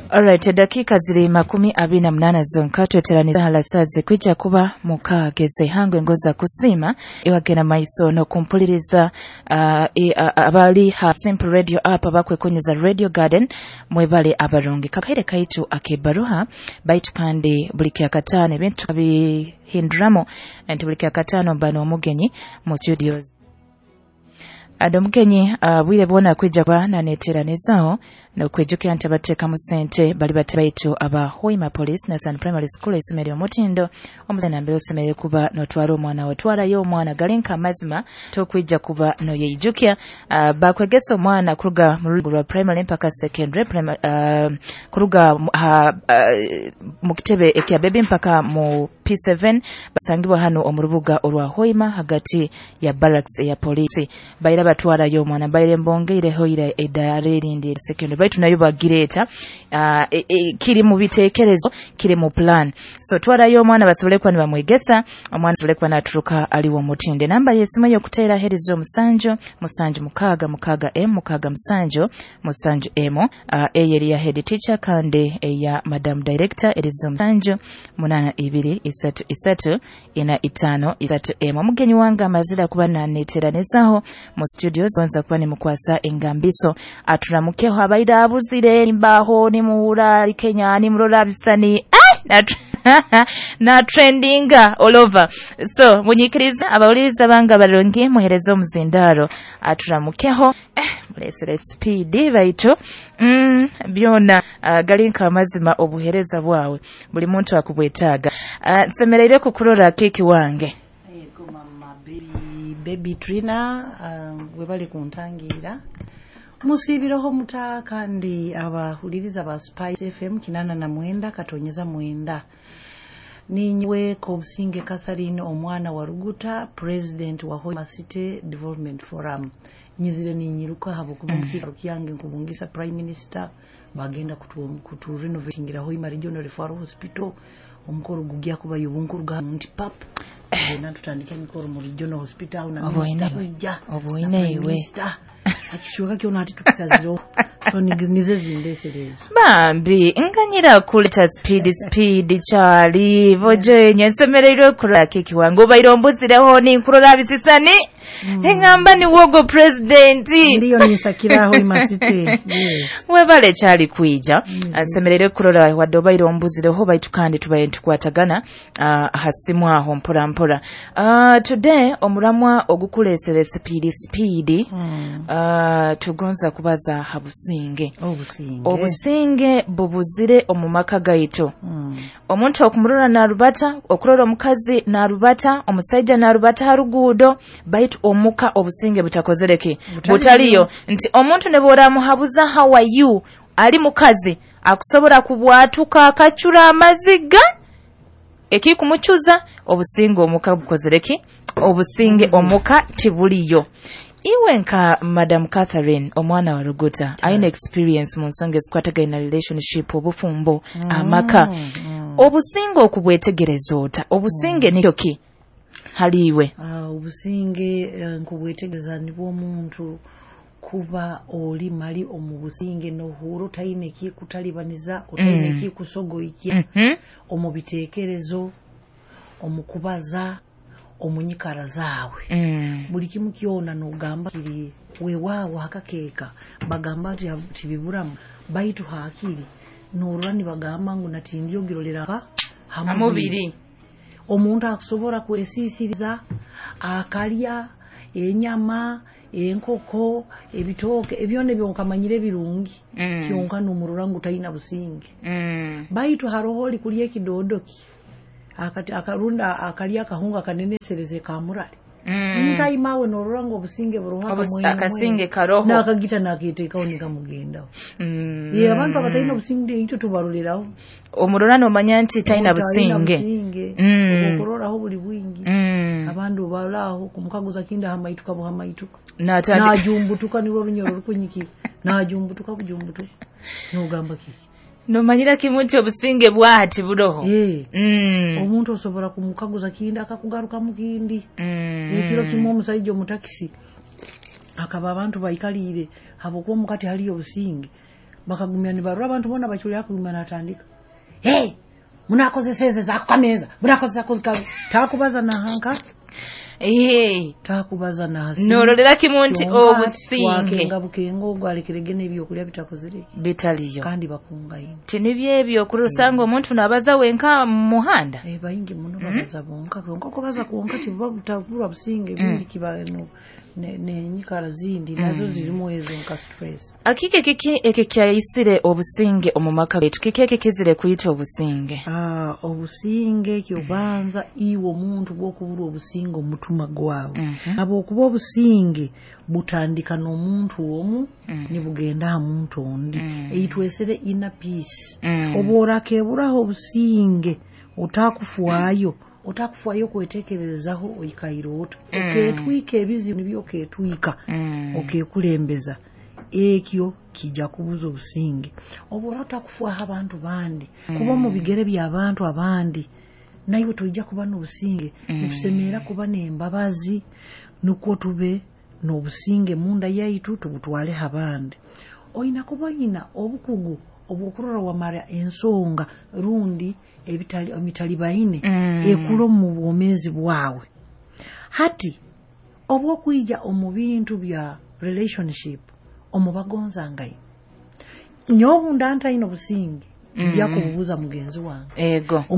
Alright, dakika ziri 28 zonka tweteraniza halasaze kwijja kuba mukageze hangwe ngoza kusiima iwagenda maiso nokumpuliriza abali ha Simple Radio app abakwekonyeza Radio Garden mwebale abarungi kakaire kaitu akebaruha baitu kandi buli kyakataano ebintu bihinduramo nti buli kyakataano mba n'omugenyi mu studios. Ado mugenyi bwire bwona kwijja kuba naneteranizaho nokwijukira nti abateekamu ssente bali baitu aba Hoima Police na San Primary School essomero omutindo omuzana mbere osemerere kuba notwara omwana otwarayo omwana galinka amazima tokwijja kuba noyeijukya. Bakwegesa omwana kuruga mu rugo rwa primary mpaka secondary kuruga mu kitebe ekya baby mpaka mu P7 basangibwa hano omu rubuga orwa Hoima hagati ya barracks ya polisi. Baira batwarayo omwana baire mbongeireho ira edara erindi secondary baitu nayo bagireta kiri mu bitekerezo kiri mu plan. So twarayo omwana basobole kuba nibamwegesa omwana asobole kuba naturuka aliwo mutinde. Namba y'essimu y'okuteera herizo 7 7 6 6 M 6 7 7 M eyo ya head teacher kandi eya madam director erizo 7 8 2 3 3 4 5 3 M. Omugenyi wange amazira kuba naneteranizaho mu studios bonza kuba nimukwasa engambiso aturamukeho abaida abuzire nimbaho nimuhura Kenya nimurora bisani na trendinga all over. So munyikiriza abawuliriza banga balongi muhereza omuzindaro aturamukeho mulesere speed baitu byona galinka amazima obuhereza bwawe buli muntu akubwetaaga. Nsemereire kukurora keki wange. Yego mama baby Trina, webali kuntangira musibiroho muta kandi abahuliriza ba Spice FM 89 katonyeza 9. Ninywe Kobusinge Catherine omwana wa Ruguta, president wa Hoima City Development Forum. Nyizire ninyiruka habo kubumkira kyange nkubungisa Prime Minister bagenda kutu renovatingira Hoima Regional Referral Hospital omukoro gugya kuba yubunkuruga nti pap genda tutandika emikoro mu Regional Hospital na minister kujja obuine iwe akishuka kyona ati tukisaziro so nize zindeserezo bambi nganyira kuleta speed chali bojenye nsemereirwe kurora keki wange obaire ombuzireho ninkurora bisisani engamba ni wogo president ndiyo nisakiraho Hoima City. Yes. Webale chali kuija nsemerere kurora wadde obaire ombuzireho baitu kandi tubaye ntukwatagana hasimu aho mpora mpora. Today omuramwa ogukulesere speed tugonza kubaza habusinge. Obusinge bubuzire omu maka gaitu. Omuntu okumurora narubata, okurora omukazi narubata, omusaija narubata haruguudo baitu omuka obusinge butakozereke butaliyo. Nti omuntu ne bworamuhabuza how are you ali mukazi akusobola kubwatuka akacura amaziga ekikumuchuza obusinge omuka bukozereki obusinge omuka tibuliyo. Iwe nka Madam Catherine omwana wa Ruguta aine experience mu nsonga ezikwatagana na relationship obufumbo amaka obusinge okubwetegereza ota obusinge nikyo ki haliwe? Obusinge nkubwetegereza nibwo omuntu kuba oli mali omu businge nohuro otaine kikutalibaniza otaine kikusogoikya omu bitekerezo omu kubaza omunyikara zawe buli kimu kyona nogamba kiri wewawo hakakeka bagamba ati tibiburamu baitu hakiri norora nibagamba ngu natindiyo girolera hamubiri. Omuntu akusobola kwesisiriza akalya enyama enkoko ebitooke ebyona ebyo birungi kyonka nomurora ngu taina businge. Baitu haroho oli kulya ekidodoki akati akarunda akalya akahunga kanenesereze kamurali ntaimawe norora ngo obusinge buroho akasinge karoho nakagita nakiteekaho nikamugendaho. Ye abantu abatalina obusinge ito tubaroleraho omurora nomanya nti talina businge okuroraho buli bwingi. Abandu balaho kumukaguza kinda hamaituka buhamaituka najumbutuka niwo runyoro rukunyikira najumbutuka bujumbutuka nogamba kiki nomanyira kimu nti obusinge bwati buroho. Omuntu osobola kumukaguza kinda akakugaruka mukindi. Ekiro kimu omusajja omutakisi akaba abantu baikaliire habwokuba omukati haliyo obusinge Bakagumya nibarora, abantu boona baculya, akagumya natandika, "Hey, munakozesa eze zakukameza, munakozesa takubaza nahanka." Takubaza nahasimu. Norolera kimu nti obusinge. Wakenga bukenga ogwo alekerege n'ebyokulya bitakozere ki? Bitaliyo. Kandi bakungaine. Ti nibyo ebyo okurora osanga omuntu nabaza wenka mu muhanda. Baingi muno babaza bonka bonka. Okubaza kwonka kibuba butabura businge, ebindi kiba nenyikara zindi nazo zirimu ezo nka stress. Akike kiki ekikyayisire obusinge omu maka gaitu? Kiki ekikizire kuyita obusinge? Obusinge kyobanza iwe omuntu bwokubura obusinge omutima gwawe, habwokuba obusinge butandika n'omuntu omu, nibugenda aha muntu ondi, eitwesere inner peace. Obworakeburaho obusinge, otakufwayo otakufwayo kwetekerezaho oikaire ota, oketwika ebizibu nibyo oketwika, okekulembeza, ekyo kijja kubuza obusinge. Obwora otakufwaho abantu bandi, kuba omu bigere by'abantu abandi, naiwe toija kuba n'obusinge. Nitusemerera kuba n'embabazi nukwo tube n'obusinge munda yaitu, tubutwaleho abandi. Oina kuba oyina obukugu obwokurora wamara ensonga rundi emitalibaine ekura omu bwomeezi bwawe. Hati obwokwija omu bintu bya relationship omu bagonzangaine, nyowe obu nda ntaine obusinge, nja kububuza mugenzi wange. Ego.